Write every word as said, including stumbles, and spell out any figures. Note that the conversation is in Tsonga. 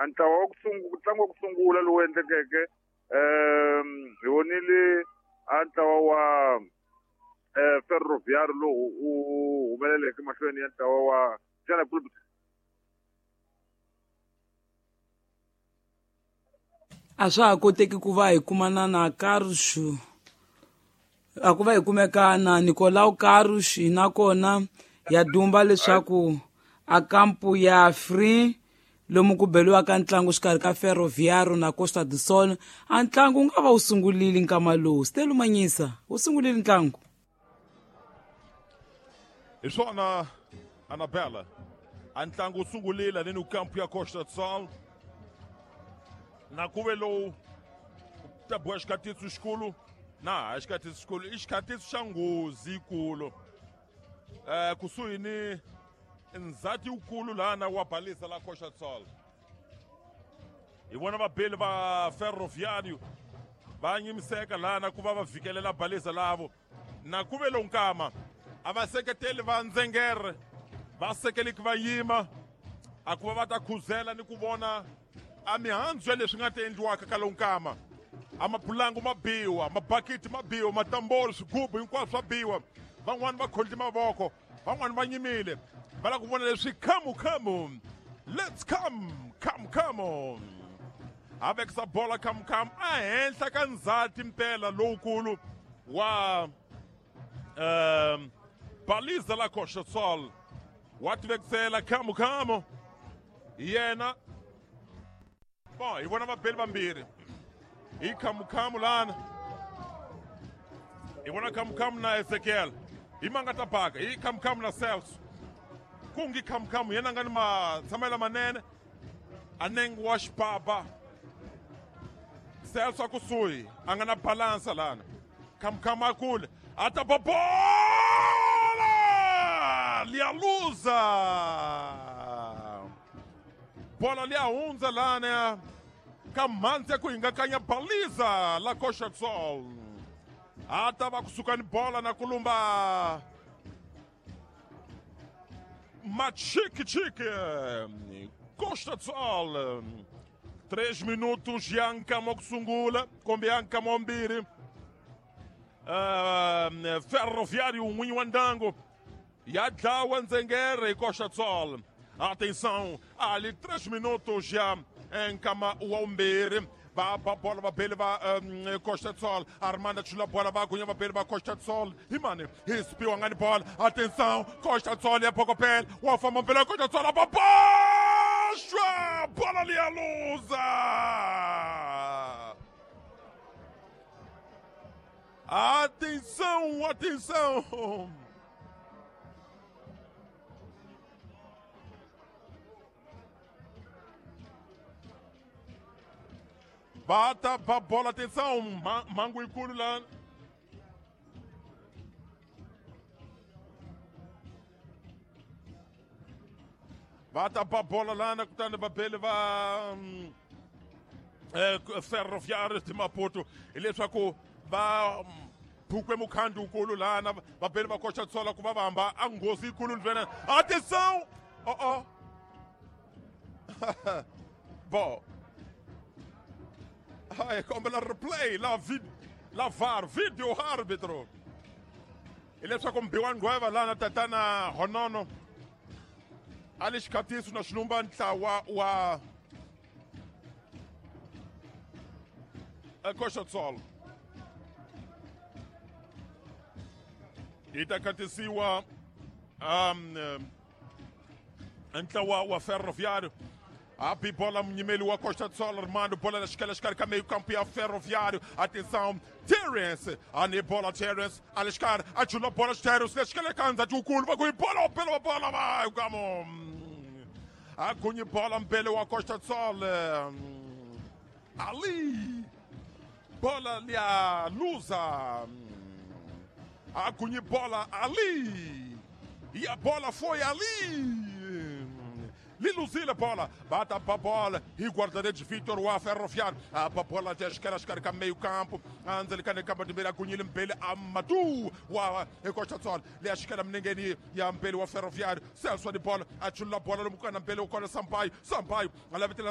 A ntlawa wa ku sungula ntlangu wa ku sungula lowu endlekeke um hi vonile a ntlawa wa eh Ferroviário lowu u humeleleke mahlweni ya ntlawa wa Jana Club. A swa ha koteki ku va hi kumana na Carlos, a ku va hi kumeka na Nicolau Carlos, nakona ya dumba leswaku a kampu ya free lomu ku beliwaka ntlangu xikarhi ka Ferroviário na Costa do Sol. A ntlangu wu nga va wu sungulile nkama lowu. Stelu Manyisa, wu sungulile ntlangu? Hi swona Anabela, a ntlangu wu sungulile ni kampu ya Costa do Sol. Na ku ve lowu ta boha xikatiso xikulu na ha xikatiso xikulu i xikatiso xa nghozi yikulu um kusuhi ni ndzhati wukulu lana wa balisa la Costa do Sol. Hi vona vabeli va Ferroviário va nyimiseka lana ku va va vhikelela balisa lavo. Na ku ve lowu nkama a va seketeli va ndzengere va sekeleki va yima a ku va va ta khuzela ni ku vona a mihandzu ya leswi nga ta endliwaka ka lowu nkama. A mapulangu ma biwa, mabakiti ma biwa, matambolo, swigubu hinkwaswo swa biwa. Van'wani va khondli mavoko, van'wani va nyimile va lava ku vona leswi khamu khamu. Let's come come come on. A vekisa bola khamu khamu a henhla ka ndzhati mpela lowukulu wa um baliza la Costa do Sol. Wa tivekisela khamu khamu yena. Bon, hi vona vabeli vambirhi hi khamukhamu lana. Hi vona khamukhamu na Ezekiel hi manga ta baka hi khamukhamu na Celso. Kungi khamukhamu yena nga ni matshamelo manene a nengi wa xibaba. Celso a kusuhi a nga na balansa lana. Khamukhamu a kule a ta ba bola liya luza. Bola liya hundza lana ka mhandzi ya ku hingakanya baliza la Costa do Sol. A ta va kusuka ni bola na ku lumba Machikichiki Costa do Sol. Três minutos ya nkama ku sungula kumbe ya nkama wa mbirhi. Uh, Ferroviário n'winyi wa ndyangu ya dlawa ndzengere hi Costa do Sol. Atenção, ali três minutos já em nkama wa vumbirhi. Va ba bola vabeli va um, Costa do Sol. Armando chula bola va gunya vabeli va Costa do Sol. Hi mani hi spiwa nga ni bola. Atenção, Costa do Sol ya phokopela wa famba mpela Costa do Sol ba boxa bola liya luza. Atenção, atenção. Bata pa bola, atenção, mango ikulu lá. Bata pa bola lá na kutani vabeli va um, eh, Ferroviário de Maputo. Hileswaku va phukwe mukhandlu wukulu lana vabeli va Costa do Sol ku va va hamba a nghozi yikulu ndzena. Atenção! Oh oh. Bom. Ai, kombela replay la vid la V A R video árbitro. Hileswaku mbiwa ngweva lana tatana Honono a le xikhatiso na xilumba ntlawa wa Costa do Sol. Yi ta khatisiwa um ntlawa wa Ferroviário. A bola munyimeli wa Costa do Sol Armando bola na xikela xikarhi ka meio campo ya Ferroviário. Atenção, Terence, ani bola Terence, ali xikarhi a chula bola Terence, le xikela ka ndzhaku wukulu va ku bola bola bola va kamo. A gunyi bola mbele wa Costa do Sol. Ali bola lia luza. A gunyi bola ali. E a bola foi ali. Liluzila bola, bata a bola e guarda-redes Vitor wa Ferroviário. A bola de esquerda, esquerda meio campo. Anzeli kane kamba timbele akunyile mbele Amadou wa Costa do Sol. Le esquerda mnengeni ya mbele wa Ferroviário. Celso de bola, achula bola lomukana mbele ukona Sampaio. Sampaio, alavetela